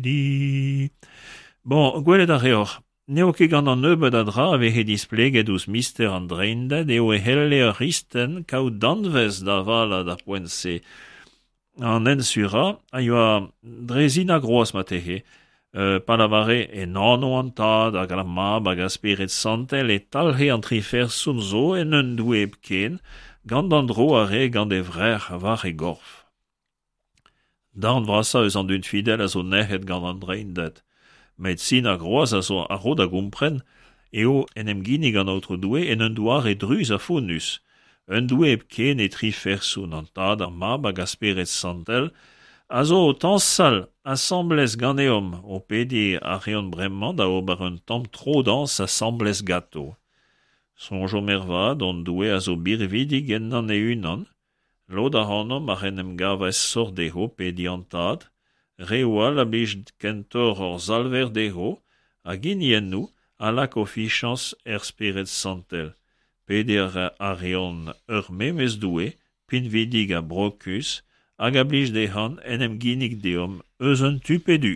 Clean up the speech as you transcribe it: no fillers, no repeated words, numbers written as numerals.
Di. Bon, gwelet a reoc'h, n'eo ket gant an nebeud a dra a veze displeget ouzh mister an Dreinded eo e c'helle ur c'hristen kaout danvez da valañ d'ar poent-se. An hent surañ a yoa dre sin ar groaz marteze, pa lavare en anv an Tad hag ar Mab hag ar Spered Santel e talc'he an tri ferson zo en un Doue hepken, gant an dro a rae gant e vrec'h war e gorf. Darn vrasañ eus an dud fidel a zo nec'het gant an Dreinded, met sin ar groaz a zo a ro da gompren eo en em ginnig an Aotrou Doue en un doare druz ha fonnus, un Doue hepken e tri ferson, an Tad, ar Mab hag ar Spered Santel, a zo o tañsal asambles ganeomp, o pediñ a reont bremañ da ober un tamm tro-dañs asambles ganto. Soñjomp ervat, hon Doue a zo birvidik ennañ e-unan, Lod ac'hanomp ac'h en em gav aesoc'h dezho pediñ an Tad, reoù all a blij kentoc'h hor Salver dezho, hag hiniennoù a lak o fichañs er Spered Santel. Pediñ a reont ur memes Doue, pinvidik ha brokus, hag a blij dezhañ en em ginnig deomp eus un tu pe du.